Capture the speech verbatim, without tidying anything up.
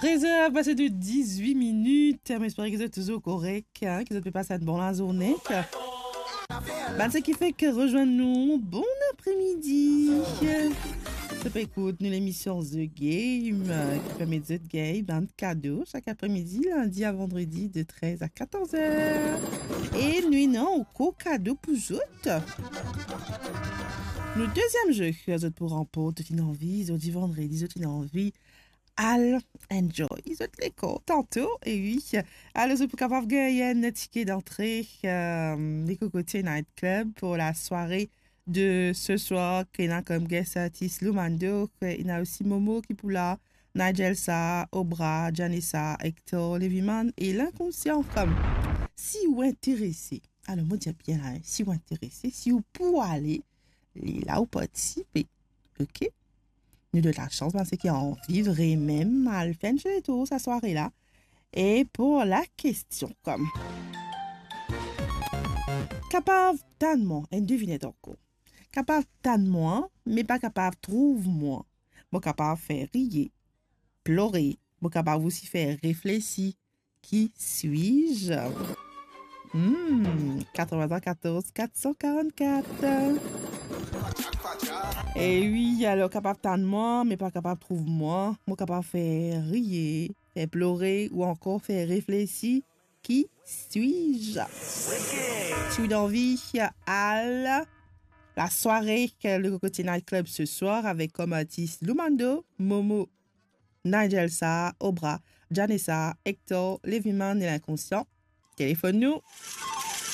Trez er pase de dizwit minit. Mo espere ki zot touzour korek, hein, ki zot pe pas enn bon lazourne. Bann seki fek rezwenn nou, bon apremidi. Zot pe ekout nou lemision The Game, ki permet zot gagn bann kado sak apremidi, lindi a vandredi, de trez a katorz er. E nou ena ankor kado pou zot. Nou deziem ze, zot pou ranport, zot ena anvi, zordi vandredi, zot ena anvi al enjoy zot lekor tanto, e wi. Alor, zot pou kapav gagn enn tike dantre, euh, Le Cocotier Night Club pou lasware de se swar, ki ena kom guest artist Loumando, ki ena osi Momo ki pou la, Nigel Sa, Obra, Janessa, Hector, Leviman e Linkonsian. Kom si ou interese, alor mo dir bien la, hein, si ou interese, si ou pou ale, li la ou partisipe. Ok? Nou donn lasans bann seki anvi vremem al fer enn ti letour sa sware la. E pou lakestion, kom kapav tann mwa, enn devinet ankor. Kapav tann mwa, me pa kapav trouv mwa. Mo kapav fer riye, plore, mo kapav osi fer reflesi. Qui suis-je? Hmm, quatre-vingt-quatorze quatre cent quarante-quatre. E wi, alor kapav tann mwa, me pa kapav trouv mwa. Mo kapav fer riye, fer plore ou ankor fer reflesi. Qui suis-je? Si ou anvi al lasware Le Cocotier Night Club se swar avek kom artis Loumando, Momo, Nigel Sa, Obra, Janessa, Hector, Leviman e Linkonsian, telefonn nou.